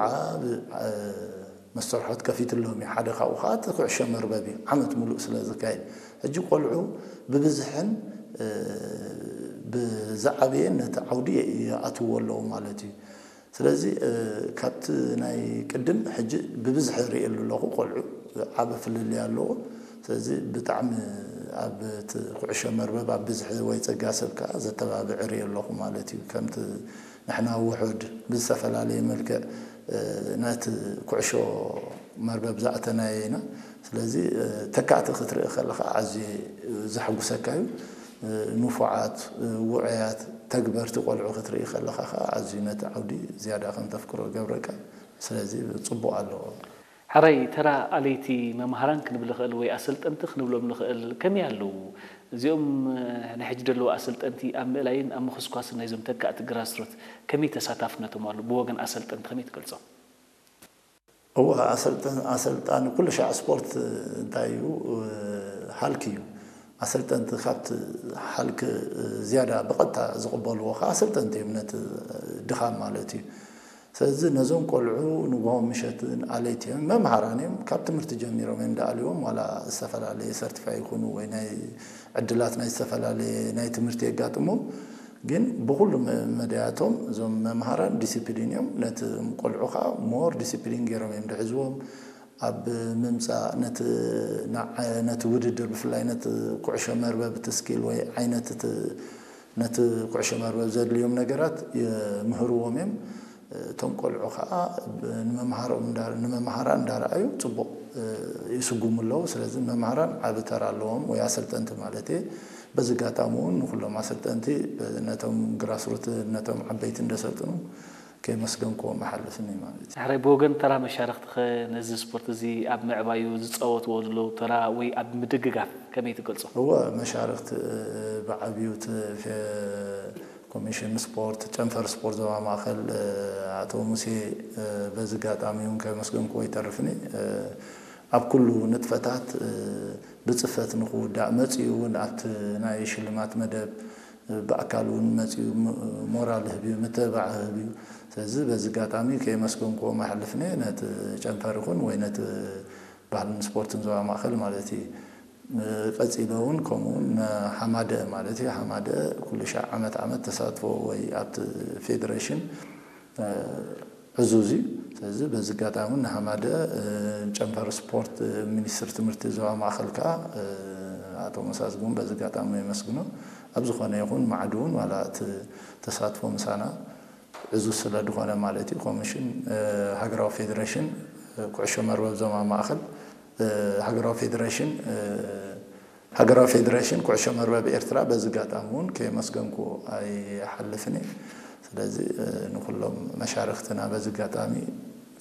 ዓብ መስተርሖት ከፊትሎም እዩ። ሓደ ካብኡ ከዓ እቲ ኩዕሾ መርበብ እዩ፣ ዓመት ሙሉእ ስለ ዝካየድ። ሕጂ ቆልዑ ብብዝሕን ብዝዓበየን ነቲ ዓውዲ ይኣትዎ ኣለዉ ማለት እዩ። ስለዚ ካብቲ ናይ ቅድም ሕጂ ብብዝሒ ርእየሉ ኣለኹ። ቆልዑ ዓበ ፍልልይ ኣለዎ። ስለዚ ብጣዕሚ ኣብ እቲ ኩዕሾ መርበብ ኣብ ብዝሒ ወይ ጸጋ ሰብ ከዓ ዘተባብዕ ርእየ ኣለኹ ማለት እዩ። ከምቲ ንሕና ውሑድ ብዝተፈላለየ መልክዕ ነቲ ኩዕሾ መርበብ ዝኣተናዮ ኢና። ስለዚ ተካእቲ ክትርኢ ከለኻ ኣዝዩ ዘሐጉሰካ እዩ። ንፉዓት፣ ውዑያት፣ ተግበርቲ ቆልዑ ክትርኢ ከለኻ ከዓ ኣዝዩ ነቲ ዓውዲ ዝያዳ ከም ተፍቅሮ ይገብረካ። ስለዚ ጽቡቕ ኣለዎ። ሕራይ፣ ተራ ኣለይቲ መምሃራን ክንብል ንኽእል ወይ ኣሰልጠንቲ ክንብሎም ንኽእል ከመይ ኣለዉ? እዚኦም ናይ ሕጂ ዘለዉ ኣሰልጠንቲ ኣብ ምእላይን ኣብ ምኹስኳስን ናይዞም ተካእቲ ግራስሩት ከመይ ተሳታፍነቶም ኣሎ? ብወገን ኣሰልጠንቲ ከመይ ትገልጾም? እወ፣ ኣሰልጠን-፣ ኣሰልጣኒ ኩሉ ሻዕ ስፖርት እንታይ እዩ? ሃልኪ እዩ። ኣሰልጠንቲ ካብቲ ሃልኪ ዝያዳ ብቐጥታ ዝቕበልዎ ከዓ ኣሰልጠንቲ እዮም፣ ነቲ ድኻም ማለት እዩ። ስለዚ ነዞም ቆልዑ ንግሆ ምሸትን ኣለይቲ እዮም። መምሃራን እዮም፣ ካብ ትምህርቲ ጀሚሮም እዮም ደኣልዎም፣ ዋላ ዝተፈላለየ ሰርቲፋይ ይኹኑ ወይ ናይ ዕድላት ናይ ዝተፈላለየ ናይ ትምህርቲ የጋጥሞም። ግን ብኹሉ መ-፣ መዳያቶም እዞም መምሃራን ዲሲፕሊን እዮም። ነቲ ቆልዑ ከዓ ሞር ዲሲፕሊን ገይሮም እዮም ድሕዝዎም። ኣብ ምምፃእ ነቲ ንዓ-፣ ነቲ ውድድር ብፍላይ ነቲ ኩዕሾ መርበብ እቲ ስኪል ወይ ዓይነት እቲ ነቲ ኩዕሾ መርበብ ዘድልዮም ነገራት ይምህርዎም እዮም። እቶም ቆልዑ ከዓ ብ-፣ ንመምሃሮም እንዳ-፣ ንመምሃራን እንዳረኣዩ ፅቡቕ ይስጉሙ ኣለዉ። ስለዚ መምሃራን ዓቢ ተራ ኣለዎም፣ ወይ ኣሰልጠንቲ ማለት እየ። በዚ ኣጋጣሚ እውን ንኩሎም ኣሰልጠንቲ ነቶም ግራስሩት ነቶም ዓበይቲ እንደሰልጥኑ ከየመስገንክዎም እሓልፍኒ ማለት እዩ። ሕራይ፣ ብወገን ተራ መሻርኽትኸ ነዚ ስፖርት እዚ ኣብ ምዕባዩ ዝፃወትዎ ዘለዉ ተራ ወይ ኣብ ምድግጋፍ ከመይ ትገልጾ? እወ፣ መሻርኽቲ ብዓብዩ እቲ ፌ-፣ ኮሚሽን ስፖርት፣ ጨንፈር ስፖርት ዞባ ማእከል ኣቶ ሙሴ በዚ ኣጋጣሚ እውን ከመስገንክዎ ይተርፍኒ። ኣብ ኩሉ ንጥፈታት ብጽፈት ንኽውዳእ መጺኡ እውን ኣብቲ ናይ ሽልማት መደብ ብኣካል እውን መጺኡ ም-፣ ሞራል ህብዩ፣ ምትብባዕ ህብዩ። ስለዚ በዚ ኣጋጣሚ ከየመስገንክዎም ኣይሓልፍን እየ፣ ነቲ ጨንፈር ይኹን ወይ ነቲ ባህልን ስፖርትን ዞባ ማእከል ማለት እዩ። ቀጺለ እውን ከምኡ እውን ንሓማደአ ማለት እዩ። ሓማደአ ኩሉ ሻዕ ዓመት ዓመት ተሳትፎ ወይ ኣብቲ ፌደሬሽን ዕዙዝ እዩ። ስለዚ በዚ ኣጋጣሚ ንሓማደአ፣ ጨንፈር ስፖርት፣ ሚኒስትር ትምህርቲ ዞባ ማእከል ከኣ ኣቶ መሳዝግቡን በዚ ኣጋጣሚ የመስግኖ። ኣብ ዝኾነ ይኹን ማዕድውን ዋላ እቲ ተሳትፎ ምሳና ዕዙዝ ስለ ዝኾነ ማለት እዩ። ኮሚሽን ሃገራዊ ፌደሬሽን ኩዕሾ መርበብ ዞባ ማእከል፣ ሃገራዊ ፌደሬሽን ሃገራዊ ፌደሬሽን ኩዕሾ መርበብ ኤርትራ በዚ ኣጋጣሚ እውን ከየመስገንኩ ኣይሓልፍን እየ። ስለዚ ንኩሎም መሻርክትና በዚ ኣጋጣሚ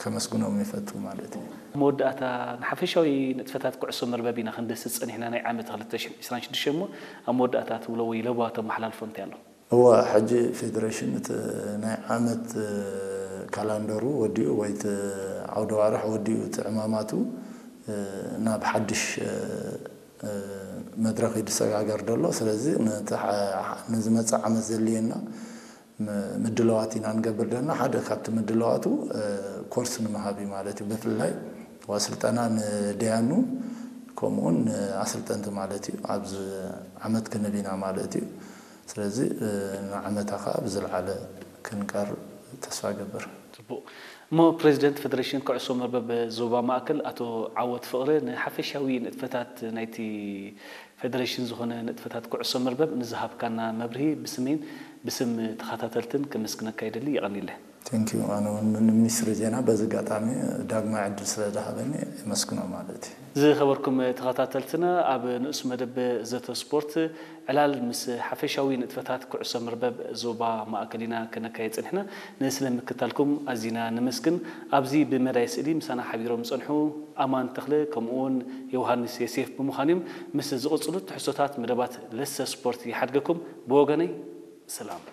ከመስግኖም ይፈቱ ማለት እዩ። ኣብ መወዳእታ፣ ንሓፈሻዊ ንጥፈታት ኩዕሶ መርበብ ኢና ክንድህስስ ጸኒሕና፣ ናይ ዓመት ክልተ ሽሕን ዕስራን ሽዱሽተን እሞ፣ ኣብ መወዳእታ ትብሎ ወይ ለበዋ ተመሓላልፎ እንታይ ኣሎ? እወ፣ ሕጂ ፌደሬሽን እቲ ናይ ዓመት ካላንደሩ ወዲኡ ወይ እቲ ዓውደ ኣዋርሕ ወዲኡ፣ እቲ ዕማማቱ ናብ ሓድሽ መድረኽ እዩ ዝሰጋገር ዘሎ። ስለዚ ነቲ ሓ-፣ ንዝመጽእ ዓመት ዘድልየና ም-፣ ምድላዋት ኢና ንገብር ዘለና። ሓደ ካብቲ ምድላዋቱ ኮርስ ንምሃብ እዩ ማለት እዩ። ብፍላይ ስልጠና ንደያኑ ከምኡውን ንኣሰልጠንቲ ማለት እዩ። ኣብዚ ዓመት ክንህብ ኢና ማለት እዩ። ስለዚ ንዓመታ ከኣ ብዝለዓለ ክንቀርብ ተስፋ እገብር። ጽቡቕ። እሞ ፕሬዚደንት ፌደሬሽን ኩዕሶ መርበብ ዞባ ማእከል ኣቶ ዓወት ፍቕረ፣ ንሓፈሻዊ ንጥፈታት ናይቲ ፌደሬሽን ዝኾነ ንጥፈታት ኩዕሶ መርበብ ንዝሃብካና መብርሂ ብስሜን ብስም ተኸታተልትን ከመስግነካ ይደሊ። የቐንየለይ። Thank you። ኣነ እውን ንሚኒስትሪ ዜና በዚ ኣጋጣሚ ዳግማይ ዕድል ስለ ዝሃበኒ የመስግኖ ማለት እዩ። ዝኸበርኩም ተኸታተልትና፣ ኣብ ንኡስ መደብ ዘተ ስፖርት ዕላል ምስ ሓፈሻዊ ንጥፈታት ኩዕሶ መርበብ ዞባ ማእከል ኢና ከነካይድ ጸኒሕና። ንስለ ምክታልኩም ኣዚና ነመስግን። ኣብዚ ብመዳይ ስእሊ ምሳና ሓቢሮም ዝጸንሑ ኣማን ተኽለ ከምኡውን ዮሃንስ ዮሴፍ ብምዃን እዮም። ምስ ዝቕጽሉ ትሕዝቶታት መደባት ለሰ ስፖርት ይሓድገኩም። ብወገነይ ሰላም።